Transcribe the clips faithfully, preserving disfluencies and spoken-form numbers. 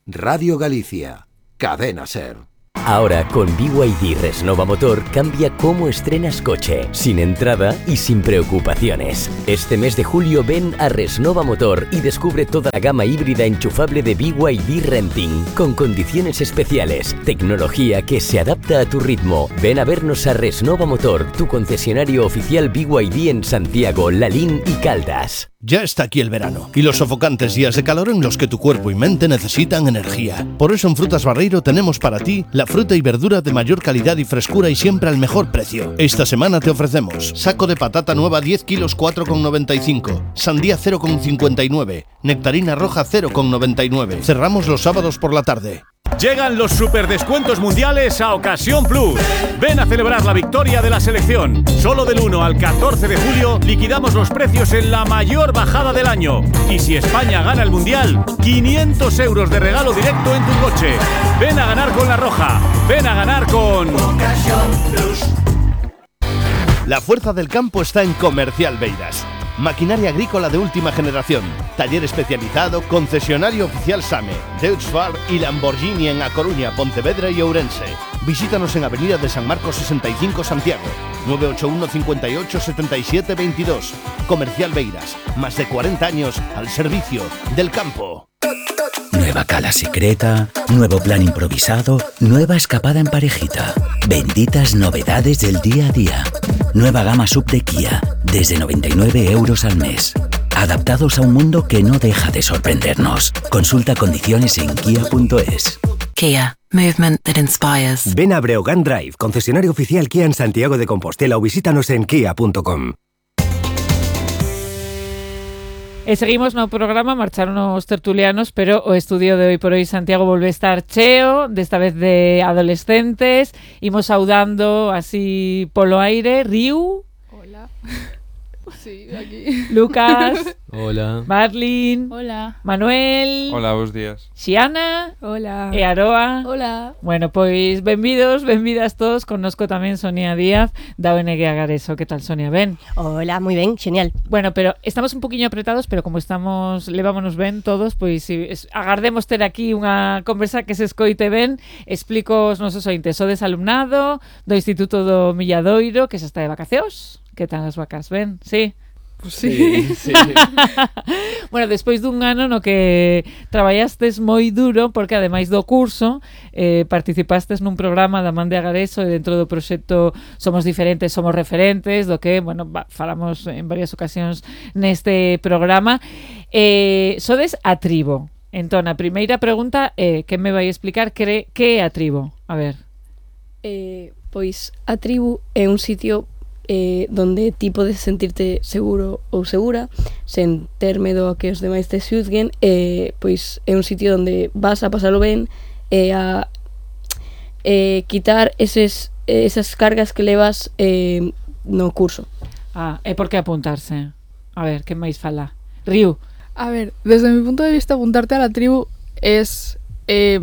Radio Galicia, Cadena Ser. Ahora con B Y D Resnova Motor cambia cómo estrenas coche, sin entrada y sin preocupaciones. Este mes de julio ven a Resnova Motor y descubre toda la gama híbrida enchufable de B Y D Renting, con condiciones especiales, tecnología que se adapta a tu ritmo. Ven a vernos a Resnova Motor, tu concesionario oficial B Y D en Santiago, Lalín y Caldas. Ya está aquí el verano y los sofocantes días de calor en los que tu cuerpo y mente necesitan energía. Por eso en Frutas Barreiro tenemos para ti la fruta y verdura de mayor calidad y frescura y siempre al mejor precio. Esta semana te ofrecemos saco de patata nueva diez kilos cuatro con noventa y cinco, sandía cero con cincuenta y nueve, nectarina roja cero con noventa y nueve. Cerramos los sábados por la tarde. Llegan los superdescuentos mundiales a Ocasión Plus. Ven a celebrar la victoria de la selección. Solo del uno al catorce de julio liquidamos los precios en la mayor bajada del año. Y si España gana el mundial, quinientos euros de regalo directo en tu coche. Ven a ganar con La Roja. Ven a ganar con Ocasión Plus. La fuerza del campo está en Comercial Beiras. Maquinaria agrícola de última generación, taller especializado, concesionario oficial SAME, Deutz-Fahr y Lamborghini en A Coruña, Pontevedra y Ourense. Visítanos en Avenida de San Marcos sesenta y cinco, Santiago, nueve ocho uno, cinco ocho, siete siete dos dos. Comercial Beiras, más de cuarenta años al servicio del campo. Nueva cala secreta, nuevo plan improvisado, nueva escapada en parejita. Benditas novedades del día a día. Nueva gama sub de Kia, desde noventa y nueve euros al mes. Adaptados a un mundo que no deja de sorprendernos. Consulta condiciones en kia punto es. Kia, movement that inspires. Ven a Breogán Drive, concesionario oficial Kia en Santiago de Compostela, o visítanos en kia punto com. E seguimos no programa, marcharon os tertulianos, pero o estudio de hoy por hoy Santiago volve a estar cheo, desta vez de adolescentes. Imos saudando así polo aire. Riu. Hola. Sí, aquí. Lucas. Hola. Marlin. Hola. Manuel. Hola, bons días. Xiana. Hola. E Aroa. Hola. Bueno, pois benvidos, benvidas todos. Connosco tamén Sonia Díaz da O N G Agareso. Que tal, Sonia? Ben? Hola, moi ben, genial. Bueno, pero estamos un poquinho apretados, pero como estamos, levámonos ben todos, pois si, es, agardemos ter aquí unha conversa que se escoite ben. Explico os nosos ointes. Sodes alumnado do Instituto do Milladoiro, que xa está de vacacións. Que tal as vacas? Ben? Sí? Pues sí. sí, sí. Bueno, despois dun ano no que traballastes moi duro, porque ademais do curso eh, participastes nun programa da Man de Agareso e dentro do proxecto Somos Diferentes, Somos Referentes, do que, bueno, va, falamos en varias ocasións neste programa. Eh, sodes a tribo. Entón, a primeira pregunta é, eh, que me vai explicar que, que é a tribo? A ver. Eh, pois a tribu é un sitio eh, donde ti podes sentirte seguro ou segura sen ter medo a que os demais te xuzguen. Eh, pois é un sitio onde vas a pasalo ben e eh, a eh, quitar eses, esas cargas que levas eh, no curso. Ah, e por que apuntarse? A ver, que máis fala? Riu. A ver, desde mi punto de vista, apuntarte a la tribu es eh,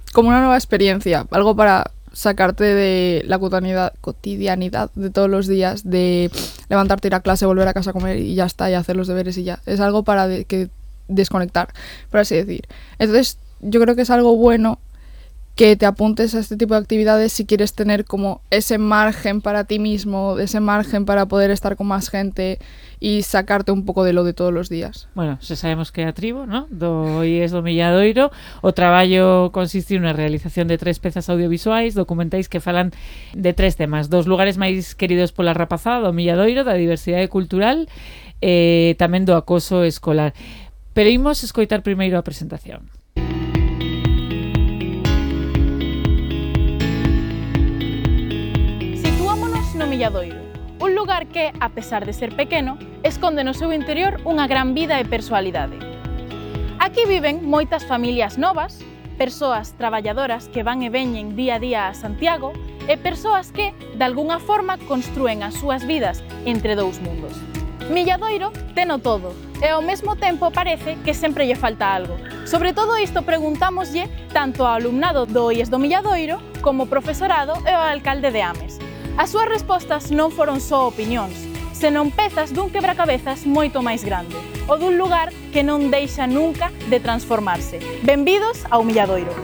como una nueva experiencia, algo para sacarte de la cotidianidad, cotidianidad de todos los días, de levantarte, ir a clase, volver a casa a comer y ya está, y hacer los deberes y ya. Es algo para de, que desconectar, por así decir. Entonces, yo creo que es algo bueno que te apuntes a este tipo de actividades si quieres tener como ese margen para ti mismo, ese margen para poder estar con más gente y sacarte un pouco de lo de todos os días. Bueno, se sabemos que é a tribo, ¿no? Do I E S do Milladoiro. O traballo consiste na realización de tres pezas audiovisuais, documentais que falan de tres temas: dos lugares máis queridos pola rapazada do Milladoiro, da diversidade cultural e tamén do acoso escolar. Pero imos escoitar primeiro a presentación. No Milladoiro, un lugar que, a pesar de ser pequeno, esconde no seu interior unha gran vida e persoalidade. Aquí viven moitas familias novas, persoas traballadoras que van e veñen día a día a Santiago e persoas que, de algunha forma, construen as súas vidas entre dous mundos. Milladoiro teno todo e ao mesmo tempo parece que sempre lle falta algo. Sobre todo isto preguntámoslle tanto ao alumnado do I E S do Milladoiro como ao profesorado e ao alcalde de Ames. As súas respostas non foron só opinións, senón pezas dun quebracabezas moito máis grande, o dun lugar que non deixa nunca de transformarse. Benvidos ao Milladoiro.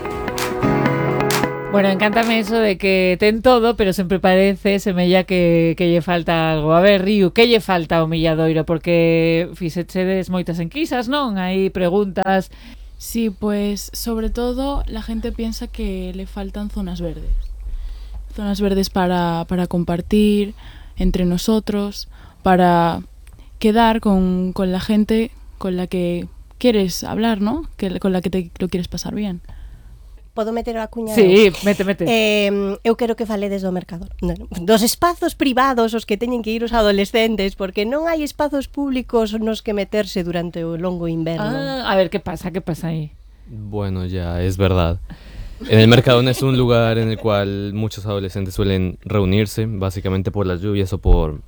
Bueno, encántame eso de que ten todo, pero sempre parece, semella que, que lle falta algo. A ver, Riu, que lle falta ao Milladoiro? Porque fixechedes moitas enquisas, non? Hai preguntas. Sí, pues sobre todo la gente piensa que le faltan zonas verdes. Zonas verdes para, para compartir entre nosotros, para quedar con, con la gente con la que quieres hablar, ¿no? Que, con la que te lo quieres pasar bien. Podo meter a cuña? Sí, mete, mete. Eh, eu quero que faledes do Mercador. Dos espazos privados os que teñen que ir os adolescentes, porque non hai espazos públicos nos que meterse durante o longo inverno. Ah, a ver, ¿qué pasa? ¿Qué pasa ahí? Bueno, ya, es verdad. En el Mercadón es un lugar en el cual muchos adolescentes suelen reunirse, básicamente por las lluvias o por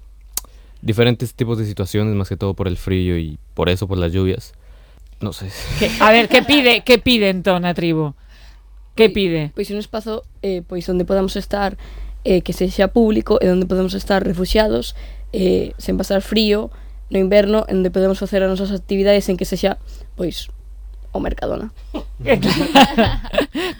diferentes tipos de situaciones, más que todo por el frío y por eso por las lluvias. No sé. ¿Qué? A ver, ¿qué pide, qué pide entón a tribu? Que pide? Pois un espazo eh, pois onde podamos estar eh, que sexa público e onde podamos estar refuxiados eh, sen pasar frío no inverno, onde podemos facer as nosas actividades en que sexa pois o Mercadona.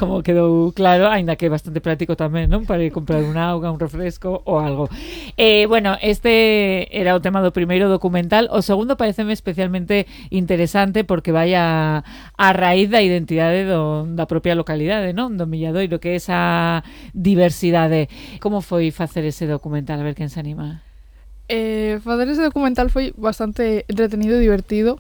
Como quedou claro, aínda que é bastante práctico tamén, non? Para ir comprar un auga, un refresco ou algo. Eh, bueno, este era o tema do primeiro documental. O segundo pareceme especialmente interesante porque vai a, a raíz da identidade do, da propia localidade, non? Do Milladoiro, que é esa diversidade. Como foi facer ese documental? A ver quen se anima. Eh, facer ese documental foi bastante entretenido e divertido.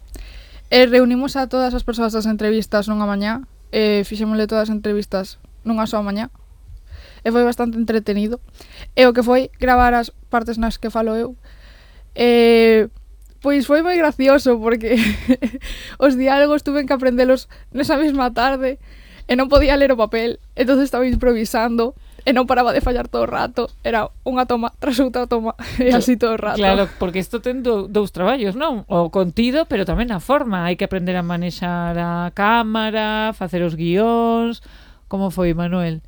E reunimos a todas as persoas das entrevistas nunha mañá, e fixémosle todas as entrevistas nunha soa mañá, e foi bastante entretenido. E o que foi gravar as partes nas que falo eu, e pois foi moi gracioso, porque os diálogos tuve que aprendelos nesa mesma tarde, e non podía ler o papel, entonces estaba improvisando, e non paraba de fallar todo o rato, era unha toma tras outra toma, e así todo o rato. Claro, porque isto ten do, dous traballos, non? O contido, pero tamén a forma. Hai que aprender a manexar a cámara, facer os guións. Como foi, Manuel?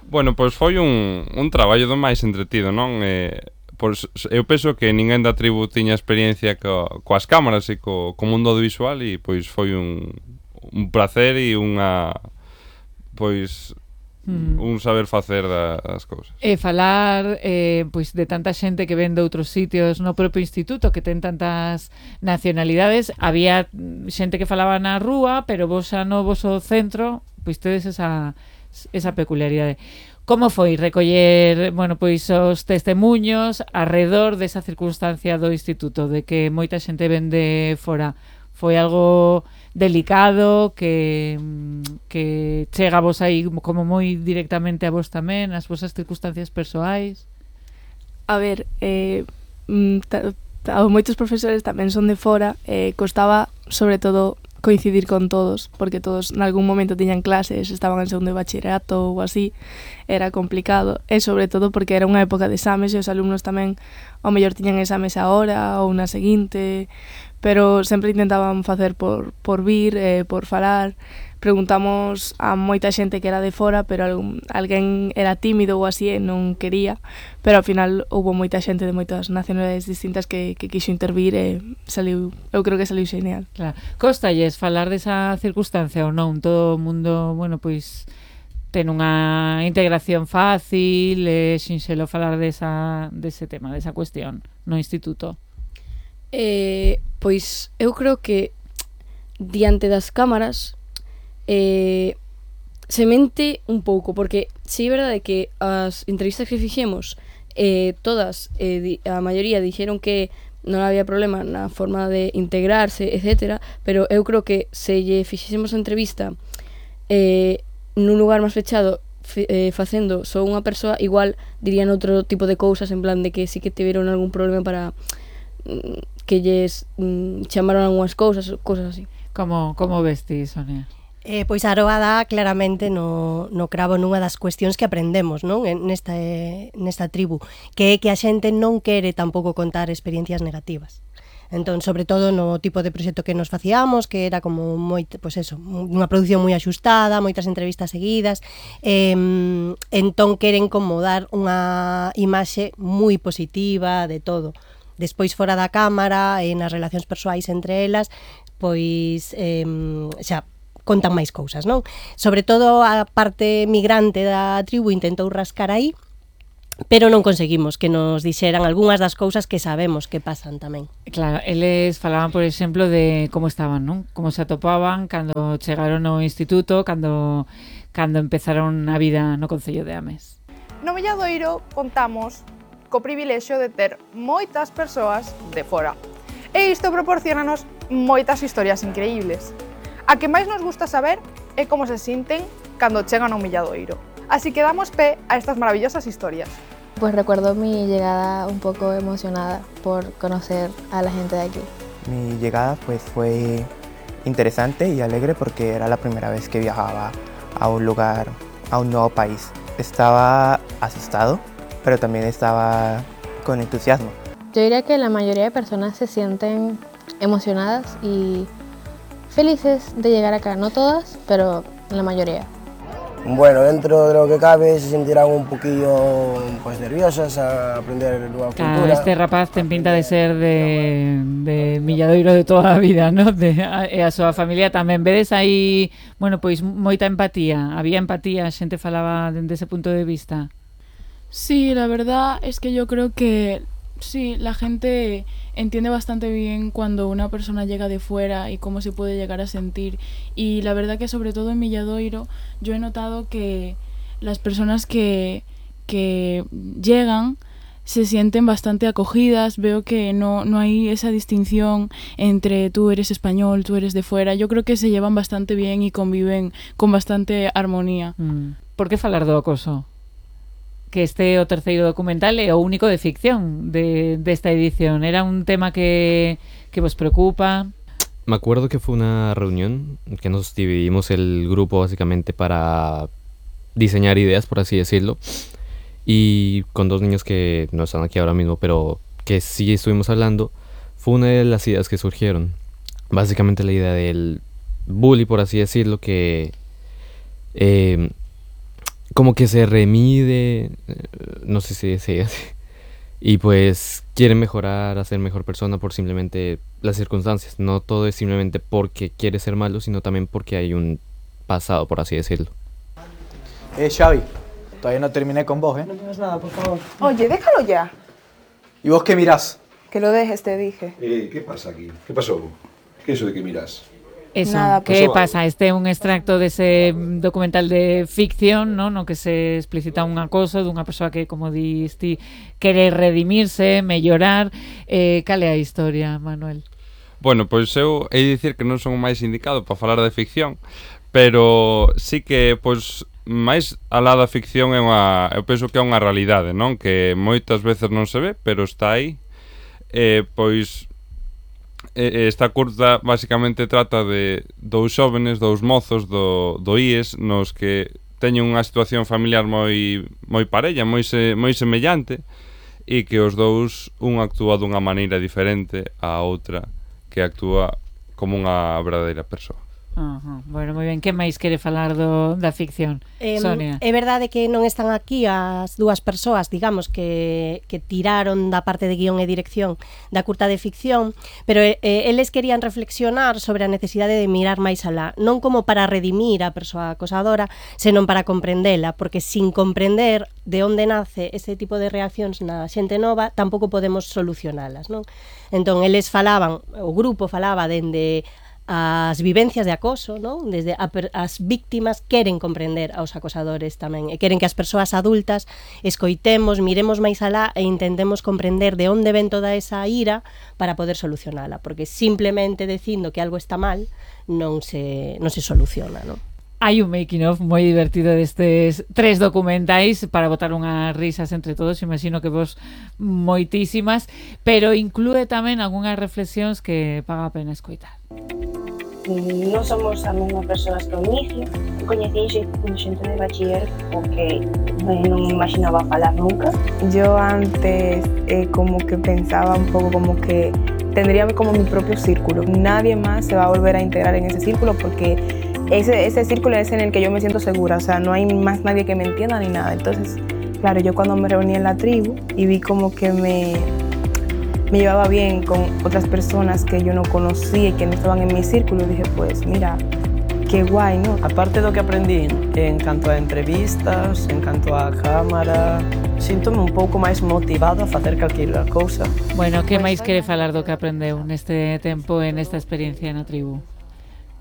Bueno, pois foi un, un traballo do máis entretido, non? Eh, pois, eu penso que ninguén da tribu tiña experiencia co, coas cámaras e co, co mundo audiovisual, e pois foi un, un placer e unha... pois... Mm. un saber facer das cousas. E falar eh, pois de tanta xente que ven de outros sitios no propio instituto, que ten tantas nacionalidades. Había xente que falaba na rúa, pero vos xa no voso centro pois tedes esa, esa peculiaridade. Como foi recoller, bueno, pois os testemuños arredor desa circunstancia do instituto, de que moita xente ven de fora? Foi algo delicado que, que chega a vos aí como moi directamente a vos tamén, as vosas circunstancias persoais? A ver, eh, ta, ta, moitos profesores tamén son de fora, eh, costaba sobre todo coincidir con todos, porque todos en algún momento tiñan clases, estaban en segundo de bachillerato ou así, era complicado, e sobre todo porque era unha época de exames e os alumnos tamén ao mellor tiñan exames ahora ou na seguinte, pero sempre intentaban facer por, por vir, eh, por falar. Preguntamos a moita xente que era de fora, pero algún, alguén era tímido ou así e non quería, pero ao final houve moita xente de moitas nacionalidades distintas que, que quixo intervir e saliu, eu creo que saliu xeneal. Claro. Cóstalles falar desa circunstancia ou non? Todo o mundo, bueno, pois ten unha integración fácil, é sinxelo falar desa, dese tema, desa cuestión no instituto. Eh, pois eu creo que diante das cámaras eh, se mente un pouco, porque si é verdade que as entrevistas que fixemos eh, todas, eh, di, a maioría dixeron que non había problema na forma de integrarse, etcétera, pero eu creo que se lle fixésemos a entrevista eh, nun lugar máis fechado, eh, facendo só unha persoa, igual dirían outro tipo de cousas, en plan de que sí que tiveron algún problema para que lles mm, chamaron algunhas cousas, cousas así. Como, como ves ti, Sonia? Eh, pois a Aroa dá claramente no, no cravo nunha das cuestións que aprendemos, non? Nesta, eh, nesta tribu, que é que a xente non quere tampouco contar experiencias negativas. Entón, sobre todo no tipo de proxecto que nos facíamos, que era como moi, pois eso, unha produción moi axustada, moitas entrevistas seguidas, eh, entón queren como dar unha imaxe moi positiva de todo. Despois fora da cámara e nas relacións persoais entre elas, pois eh, xa contan máis cousas, non? Sobre todo a parte migrante da tribu intentou rascar aí, pero non conseguimos que nos dixeran algunhas das cousas que sabemos que pasan tamén. Claro, eles falaban, por exemplo, de como estaban, non? Como se atopaban cando chegaron ao instituto, cando cando empezaron a vida no Concello de Ames. No Milladoiro contamos co privilexio de ter moitas persoas de fora. E isto proporcionanos moitas historias increíbles. A que máis nos gusta saber é como se sinten cando chegan ao Milladoiro. Así que damos pé a estas maravillosas historias. Pues recuerdo mi llegada un poco emocionada por conocer a la gente de aquí. Mi llegada pues fue interesante y alegre porque era la primera vez que viajaba a un lugar, a un nuevo país. Estaba asustado, pero también estaba con entusiasmo. Yo diría que la mayoría de personas se sienten emocionadas y felices de llegar acá. No todas, pero la mayoría. Bueno, dentro de lo que cabe se sentirán un poquillo pues, nerviosas a aprender nueva claro, cultura. Este rapaz ten pinta de ser de, de Milladoiro de toda a vida, ¿no? De, a, e a súa familia tamén. Vedes aí, bueno, pois moita empatía. Había empatía, a xente falaba dende ese punto de vista. Sí, la verdad es que yo creo que sí, la gente entiende bastante bien cuando una persona llega de fuera y cómo se puede llegar a sentir. Y la verdad que sobre todo en Milladoiro yo he notado que las personas que, que llegan se sienten bastante acogidas. Veo que no, no hay esa distinción entre tú eres español, tú eres de fuera. Yo creo que se llevan bastante bien y conviven con bastante armonía. Mm. Por que falar do acoso? Que este o terceiro documental é o único de ficción de desta edición. Era un tema que, que vos preocupa. Me acuerdo que fue una reunión que nos dividimos el grupo básicamente para diseñar ideas, por así decirlo, y con dos niños que no están aquí ahora mismo, pero que sí estuvimos hablando, fue una de las ideas que surgieron. Básicamente la idea del bully, por así decirlo, que eh, como que se remide, no sé si se dice, y pues quiere mejorar, hacer mejor persona por simplemente las circunstancias. No todo es simplemente porque quiere ser malo, sino también porque hay un pasado, por así decirlo. Eh, Xavi, todavía no terminé con vos, ¿eh? No digas nada, por favor. Oye, déjalo ya. ¿Y vos qué mirás? Que lo dejes, te dije. Eh, ¿qué pasa aquí? ¿Qué pasó? ¿Qué es eso de que mirás? Eso, Nada, que pues, pasa? Este é un extracto dese documental de ficción, ¿no? No que se explicita un acoso dunha persoa que, como dis ti, quere redimirse, mellorar. Eh, cal é a historia, Manuel? Bueno, pois eu hei de dicir que non son o máis indicado para falar de ficción, pero sí que, pois, máis alá da ficción é unha, eu penso que é unha realidade, non? Que moitas veces non se ve, pero está aí. Eh, pois esta curta basicamente trata de dous xóvenes, dous mozos do, do I E S nos que teñen unha situación familiar moi moi parella, moi se, moi semellante, e que os dous un actúa dunha maneira diferente á outra que actúa como unha verdadeira persoa. Uh-huh. Bueno, moi ben, que máis quere falar do, da ficción? Eh, Sonia. É verdade que non están aquí as dúas persoas, digamos, que, que tiraron da parte de guión e dirección da curta de ficción, pero eh, eles querían reflexionar sobre a necesidade de mirar máis alá, non como para redimir a persoa acosadora, senón para comprendela, porque sin comprender de onde nace ese tipo de reaccións na xente nova, tampouco podemos solucionalas, non? Entón, eles falaban, o grupo falaba dende as vivencias de acoso, non? Desde a, as víctimas queren comprender aos acosadores tamén, e queren que as persoas adultas escoitemos, miremos máis alá e intentemos comprender de onde ven toda esa ira para poder solucionala, porque simplemente dicindo que algo está mal non se, non se soluciona, non? Hai un making of moi divertido destes tres documentais para botar unhas risas entre todos, imagino que vos moitísimas, pero inclúe tamén algunhas reflexións que paga a pena escoitar. Non somos a mesma persoas que ao inicio, coñecín xente de bachiller porque non imaginaba falar nunca. Yo antes eh, como que pensaba un pouco como que tendría como mi propio círculo. Nadie más se va a volver a integrar en ese círculo porque ese, ese círculo es en el que yo me siento segura, o sea, no hay más nadie que me entienda ni nada. Entonces, claro, yo cuando me reuní en la tribu y vi como que me, me llevaba bien con otras personas que yo no conocía y que no estaban en mi círculo. Dije, pues mira, qué guay, ¿no? Aparte do que aprendí en canto a entrevistas, en canto a cámara, síntome un pouco máis motivado a facer calquera cousa. Bueno, que máis quere falar do que aprendeu neste tempo e nesta experiencia na tribu?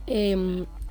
Eh,